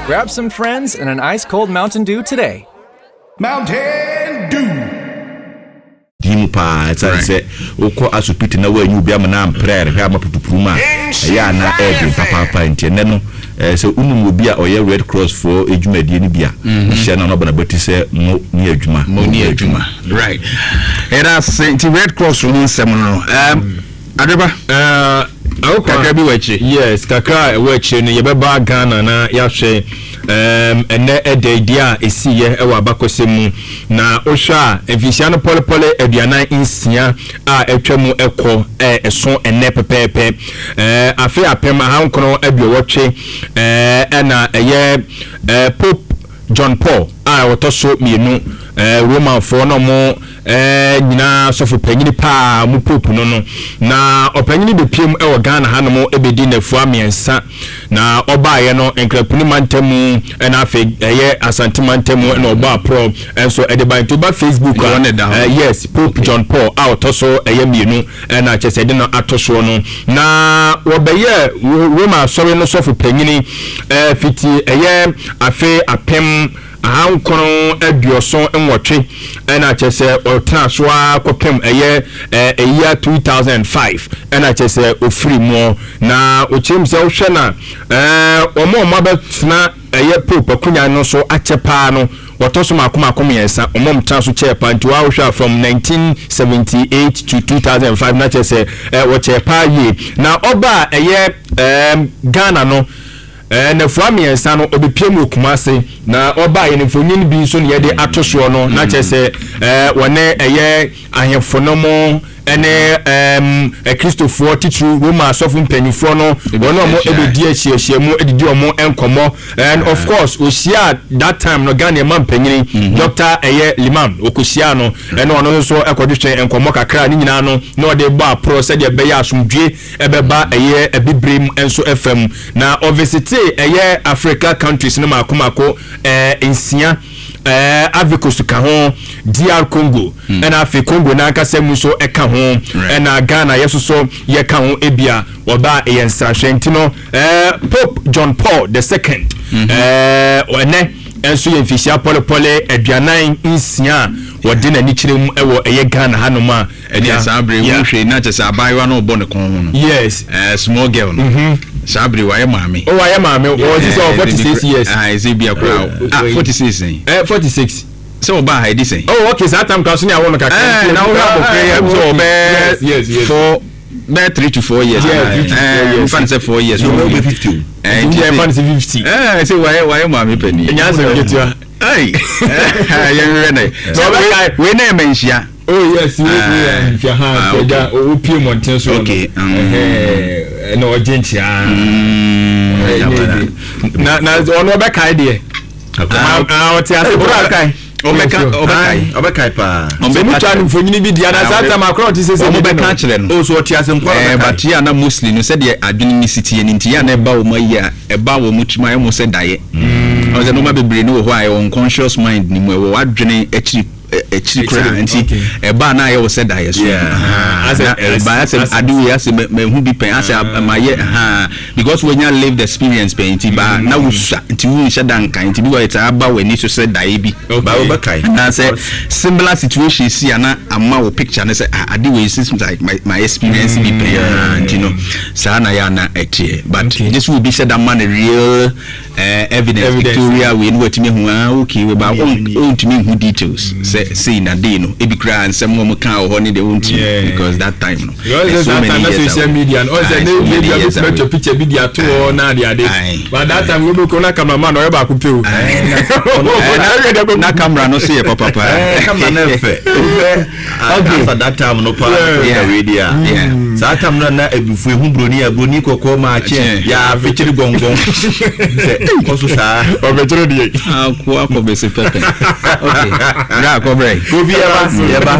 Grab some friends and an ice cold Mountain Dew today. Mountain Dew. Di mu paa ɛsiane sɛ wokɔ asopiti na woanyi obi ama no amprɛ ayarehwɛ ama pupupuru mu a ɛyɛ a na ɛyɛ den papaapa nti ɛnnɛ no sɛ wonim obi a ɔyɛ Red Cross foɔ dwumadie no bi a wohyia no a na ɔba n'abati sɛ mo ne adwuma mo ne adwuma right ɛda ase nti Red Cross ho nsɛm no no um, Adepa uh, kakra bi wɔ akyire. Yes, kakra a ɛwɔ akyire no yɛbɛba Ghana na yɛahwɛ um, ɛnɛ ɛda adi a ɛsiiɛ ɛwɔ abakɔsɛm mu. Na wohwɛ a mfinhyia no pɔlepɔle 46 a atwa mu ɛkɔ ɛso ɛnɛ pɛpɛɛpɛ. Afe 1980 ɛna ɛyɛ Pope John Paul a ɔtɔ so mmienu, Romanfoɔ na ɔmo nyinaa sɔfo panyini paa ɔmo pope no no. Na ɔpanyini bɛpiem wɔ Ghana hanom bɛdi nnafua mmiɛnsa. Na ɔbaeɛ no Nkrapuni mantamu ɛna afei ɛyɛ Asante mantamu ɛna ɔbɔ aporɔ nso ɛde bae. Nti woba Facebook a, yes, Pope John Paul a ɔtɔ so ɛyɛ mmienu ɛna kyerɛ sɛ ɛde no ato soɔ no. Na wɔbɛyɛɛ Roma asɔre no sɔfo panyini fiti ɛyɛ afe 1978 ɛna kyerɛ sɛ ɔtena so ara kɔpem ɛyɛ ɛyia 2005 ɛna kyerɛ sɛ ɔfiri muɔ. Na ɔkyerɛ mu sɛ wohwɛ na wɔn a wɔabɛtena ɛyɛ Pope akonya no so akyɛ paa no, wɔtɔ so mako mako mmiɛnsa, wɔn a wɔtena so kyɛɛ paa nti woahwɛ a from 1978 to 2005 na kyerɛ sɛ wɔkyɛɛ paa yie. Na ɔba a ɛyɛ Ghana no, nnafua mmiɛnsa no ɔbɛpiem wɔ Kumase, na ɔbaa yɛn mfonyin bi nso na yɛde ato soɔ no, na kyerɛ sɛ wɔne ɛyɛ ahemfo no mo ne Akristofoɔ titiriw Roma asɔfo mpanyinfoɔ no, wɔn a wɔn ɛbɛdi ahyiahyia mu didi wɔn nkɔmmɔ. And of course ɔhyia that time no Ghana ɛma mpanyini Dr. ɛyɛ Liman ɔkɔhyia no, ɛna ɔno nso ɛkɔdwetwe nkɔmmɔ kakra, ne nyinaa no na ɔde bɔ aporɔ sɛdeɛ ɛbɛyɛ asomdwe ɛbɛba ɛyɛ abibirem nso fam. Na ɔvisitee ɛyɛ Africa countries no mako mako nsia, Ivory Coast ka ho, DR Congo, ɛna afei Congo n'ankasa mu nso ɛka ho, ɛna Ghana yɛ soso yɛka ho ebia wɔba ɛyɛ nsrahwɛ nti no Pope John Paul the second ɛnɛ nso yɛ mfihyia pɔlepɔle 46 a wɔde n'ani kyerɛ mu ɛwɔ ɛyɛ Ghana hanom a Ɛdeɛ saa bere wo hwɛ na kyɛ sɛ abaayewa no ɔbɔ ne kɔn ho no. Yes. Small girl no. Saa bere wayɛ maame. Oh, wayɛ maame. Ɔwɔ sisi ɔwɔ 46 years. Ah, ɛsɛ bi akora. Ah, 46 sɛn. 46. Sɛ ɔbaa ha ɛdi sɛn. Oh, okay, saa tam kora so ne awo no kakra. Na wo abɔfra yi sɛ ɔbɛɛ. Yes, yes. 4 bɛɛ 3 to 4 years. Yeah, 3 to 4 years. Nfa ne sɛ 4 years. So ɔbɛ 50 o. Nti ɛnfa ne sɛ 50. Sɛ wayɛ wayɛ maame panyin. Ɛnyɛ asɛm ketewa. Ai, yɛnhwehwɛ nɛ. Sɛ ɔbɛkae. Wei na ɛma nhyia. Oh yes, wei wei nhyia ha nti ɛgya opie mmɔnten so no. Okay. Ɛna ɔgye nkyia. Na na ɔno ɔbɛkae deɛ. Ɔte ase bro akae. Ɔbɛka ɔbɛkae. Ɔbɛkae paa. Sɛ mo twa no mfonini bi di ana saa tam akora ɔte sɛ sɛ ɔmo bɛka akyerɛ no. O so ɔte ase nkwa ɔbɛkae. But yɛ ana mostly no sɛdeɛ adwene ne si teɛ no nti yɛ ana ɛba wɔn ayi a ɛba wɔn tirim ayɛ wɔn sɛ daeɛ. Ɔn sɛ nneɛma bebree no wɔ hɔ a ɛwɔ unconscious mind ne mu, ɛwɔ w'adwene akyiri akyiri koraa nti ɛba na ayɛ wɔ sɛ daeɛ so. Na ɛba asɛ ade wei asɛ mahu bi pɛn asɛ mayɛ ha because wanya lived experience pɛn nti ba na wosua nti wonhyɛ da nkan nti bi wɔ ɛtaa ba w'ani so sɛ daeɛ bi. Ba wobɛkae. Anaasɛ similar situation si a na ama wo picture no sɛ ah ade wei seems like my my experience bi pɛn nti no saa na yɛ ana ɛteɛ but gye sɛ obi hyɛ da ma no real evidence pictorial wei no watumi ahu ah okay wei ba ɔntumi nhu details sɛ sei na dei no ebi koraa nsɛm wɔn kaa wɔ hɔ ne deɛ ɔntumi because that time no it's so many years social media no ɔsɛ ne ebi ebi abɛtumi atwa picture bi de ato hɔ na ade ade but that time wo bɛ ko na camera man ɔyɛ baako pe o na camera no so yɛ papa paa camera no fɛ after that time no paa yeah wei deɛ a saa time no na abufuo ehu broni a broni kɔkɔɔ maa kyɛn yɛ afekyere gɔngɔn sɛ kɔ so saa ɔbɛkyerɛ deɛ akɔ akɔ bɛsi pɛpɛ okay bra akɔ brɛ Kofi yɛba yɛba.